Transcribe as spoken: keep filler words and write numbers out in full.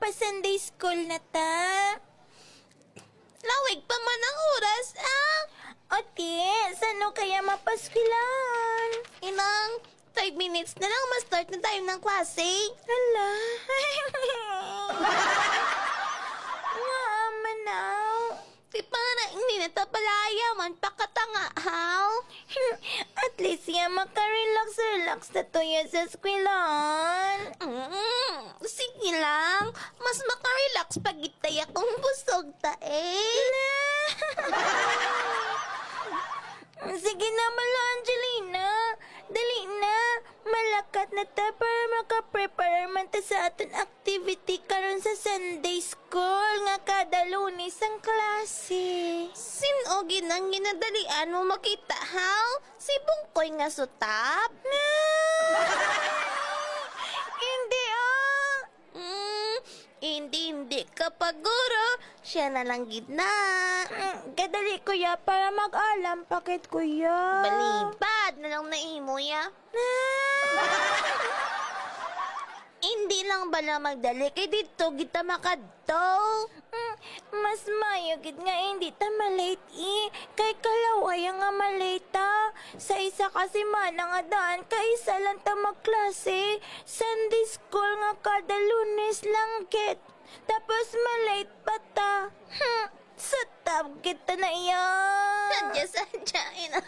Sunday school na ta. Lawig pa man ang oras, ah. O, ti, sano kaya mapaskwelahan? Inang, five minutes na lang, ma-start na tayo ng klase. Hala. Nga man, aw. Di pa nga na, hindi na ta palayaman, pakatanga, haw? At least, ya, makarelax-relax na to, ya, sa eskwelahan. Mm, sige lang. Mas makarelax pa gid ta ya kung busog ta, eh. Sige na, Mala Angelina. Dali na. Malakat na ta para makaprepare man ta sa aton activity karon sa Sunday school nga kada Lunes ang klase. Sin-o gid ang ginadalian mo makita, haw? Si Bungkoy nga sutap? Hindi, ah. Mm, hindi, hindi ka pa, guro. Siya na lang gid na. Mm, kadali, kuya, para mag-alam pa gid, kuya. Balibad na lang na imo, ya. Hindi lang bala magdali, kay didto gid ta makadto. Mm, mas maayo gid nga hindi ta malate, eh, kay kalaway nga malate ta. Sa isa ka semana nga daan, kay isa lang ta magklase. Sunday school nga kada Lunes lang gid. Tapos malate pa ta. Hmm, sutap gid ta na iya. Sadya, sadya, you know?